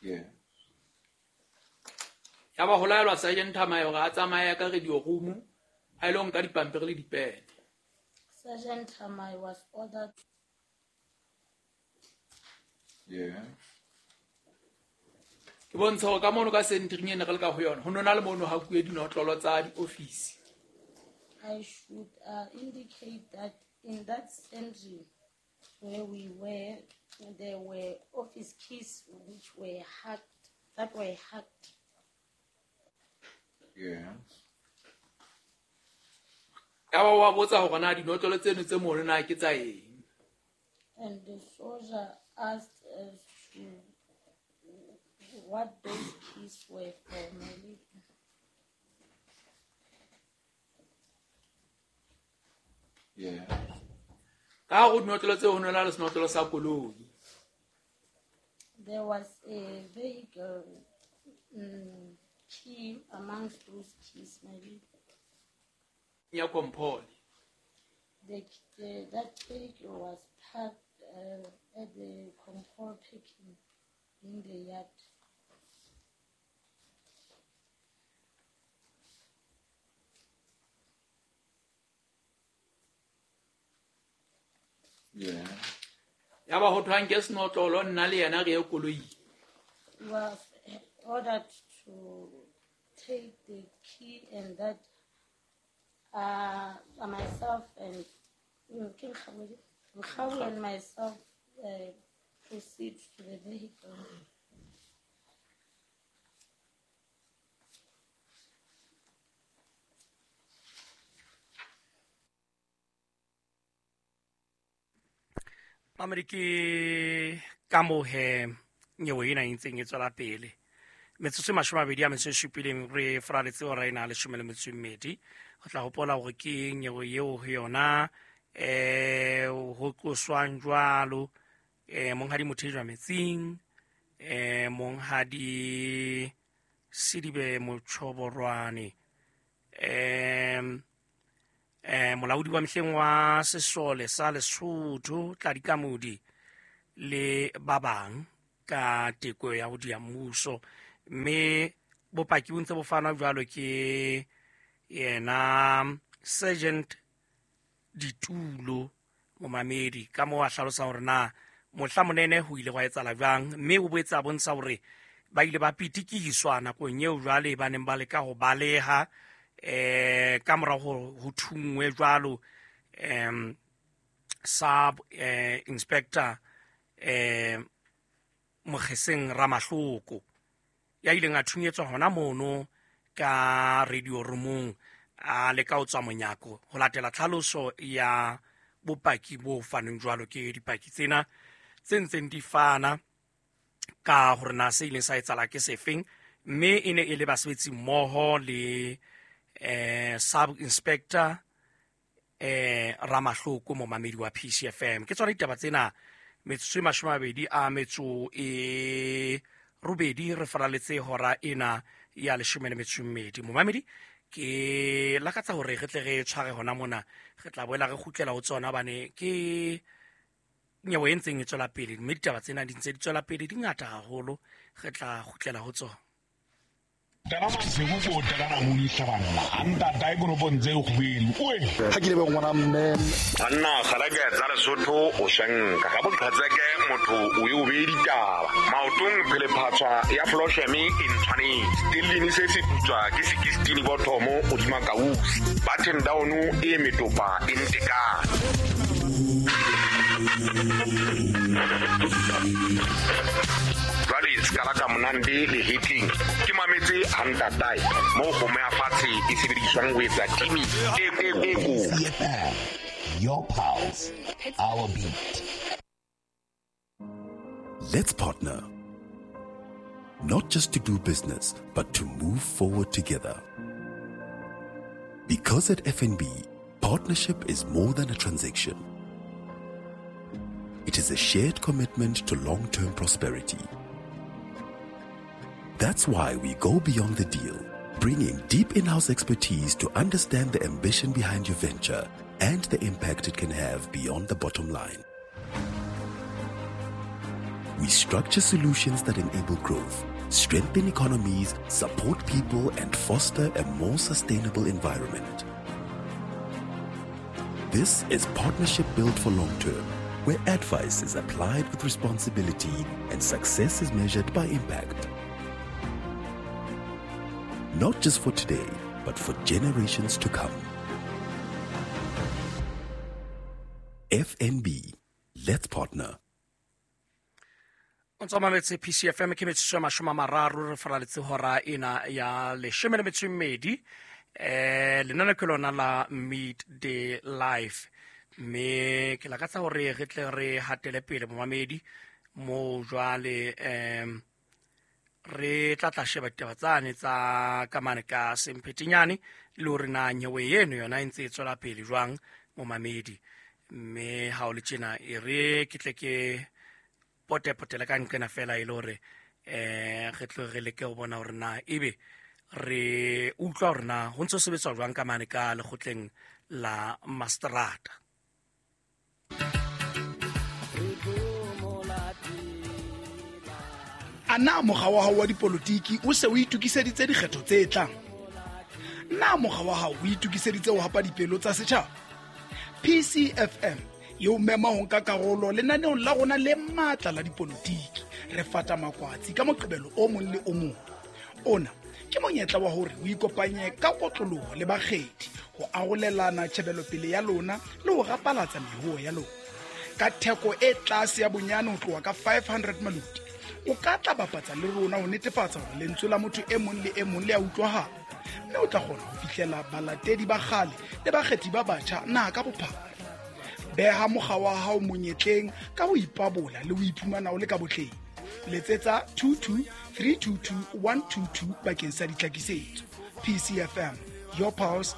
Yeah. Ya ba ho laelwa Sergeant Thamae hore a tsamaye ka radio room a ilo nka dipampiri le dipene. Sergeant Thamae was ordered. Yeah. Ke bontsha hore ka mono ka sentering e ne re le ka ho yona ho nona le mono hakuwe dinotlolo tsa diofisi. I should indicate that in that sentry where we were, there were office keys which were hacked, that were hacked. Yeah. Ya ba wa botsa hore na dinotlolo tseno tse mono na ke tsa eng. And the soldier asked as to what those keys were for, my lady. Yeah. Ka hare ho dinotlolo tseo ho nona le senotlolo sa koloi. There was a vehicle key amongst those keys, my lady. Ya Compol. That vehicle was parked at the Compol parking in the yard. Yeah. Ya ba ho thwang ke senotlolo nna le yena re ye koloing. He was ordered to take the key and that myself and King Khawi and myself proceed to the vehicle. Mamedi ke ka moo he nyewe ena e ntseng e tswela pele. Metsotso e 27 re faraletse hora ena 12. Ho tla hopola hore ke nyewe eo ho yona ho tloswang jwalo monghadi Mothejwa Metsing, monghadi Sidibe Mochoborwane, molaodi wa mehleng wa sesole sa Lesotho Tladi Kamodi le ba bang ka teko ya ho dia mmuso, mme bopaki bo ntse bo fanwa jwalo ke yena Sergeant Ditulo momamedi ka moo a hlalosa hore na mohla monene ho ile gwa etsahala jwang, mme o boetse a bontsha hore ba ile ba pitikiswa nakong eo jwale ba neng ba leka ho baleha ka mora ho thungwe jwalo sub inspector Mogeseng Ramahloko ya ileng a thunyetswa hona mono ka radio roomong a leka ho tswa monyako ho latela tlhaloso ya bopaki bo fanweng jwalo ke dipaki tsena tse ntseng di fana ka hore na se ileng sa etsahala ke sefeng, mme e ne e le basebetsi mmoho le sub inspector Ramahloko momamedi wa PCFM. Ke tsona ditaba tsena metsotso e 28 re faraletse hora ena ya 12. Momamedi ke lakatsa hore re tle re tshware hona mona, re tla boela re kgutlela ho tsona bane ke nyewe e ntseng e tswela pele, mme ditaba tsena di ntse di tswela pele di ngata haholo, re tla kgutlela ho tsona. Ha ke lebe ngwana mme banna galake tsa Lesotho o shanka ga boqhatseke motho o e o bee ditaba maotong phelephatswa ya flosheme e ntshwanetse stellini se se putswa ke 16 bothomo godima kausi button down e metopa e ntekane. Jwale sekala ka monande le hetleng ke mametse hantatae moo kgomo ya fatshe e sebediswang ho etsa timi e Your pulse, our beat. Let's partner. Not just to do business, but to move forward together. Because at FNB, partnership is more than a transaction. It is a shared commitment to long-term prosperity. That's why we go beyond the deal, bringing deep in-house expertise to understand the ambition behind your venture and the impact it can have beyond the bottom line. We structure solutions that enable growth, strengthen economies, support people, and foster a more sustainable environment. This is partnership built for long term, where advice is applied with responsibility and success is measured by impact. Not just for today, but for generations to come. FNB, let's partner. O ntse mametse PCFM, ke metsotso ya 30 re faraletse hora ena ya 12. Lenane ke lona la Meet the Life, mme ke lakatsa hore re tle re hatele pele, momamedi, mo jwale re tla tla sheba ditaba tsane tsa kamane ka semphetenyane le hore na nyewe eno yona e ntse e tswela pele jwang, momamedi. Mme ha o le tjena, e re ke tle ke potepotele ka nqena fela, e le hore re tlo re leke ho bona hore na ebe re utlwa hore na ho ntse ho sebetswa jwang ka mane ka lekgotleng la mastrata. A na mokga wa hao wa dipolotiki o se o itokiseditse dikgetho tse tlang? Na mokga wa hao o itokiseditse ho hapa dipelo tsa setjhaba? PCFM e o mema ho nka karolo lenaneong la rona le matla la dipolotiki. Re fata makwatsi ka Moqebelo o mong le o mong. Ona ke monyetla wa hore o ikopanye ka kotloloho le bakgethi ho arolelana tjhebelopele ya lona le ho rapalatsa mehuo ya lona. Ka theko e tlase ya bonyane ho tloha ka 500 maloti, o ka tla bapatsa le rona ho netefatsa hore lentswe la motho e mong le e mong le a utlwahala, mme o tla kgona ho fihlela balatedi ba kgale le bakgethi ba batjha naha ka bophara. Beha mokga wa hao monyetleng ka ho ipabola le ho iphumana o le ka botleng. Letsetsa 22 322 122 bakeng sa ditlhakisetso. PCFM, your pulse.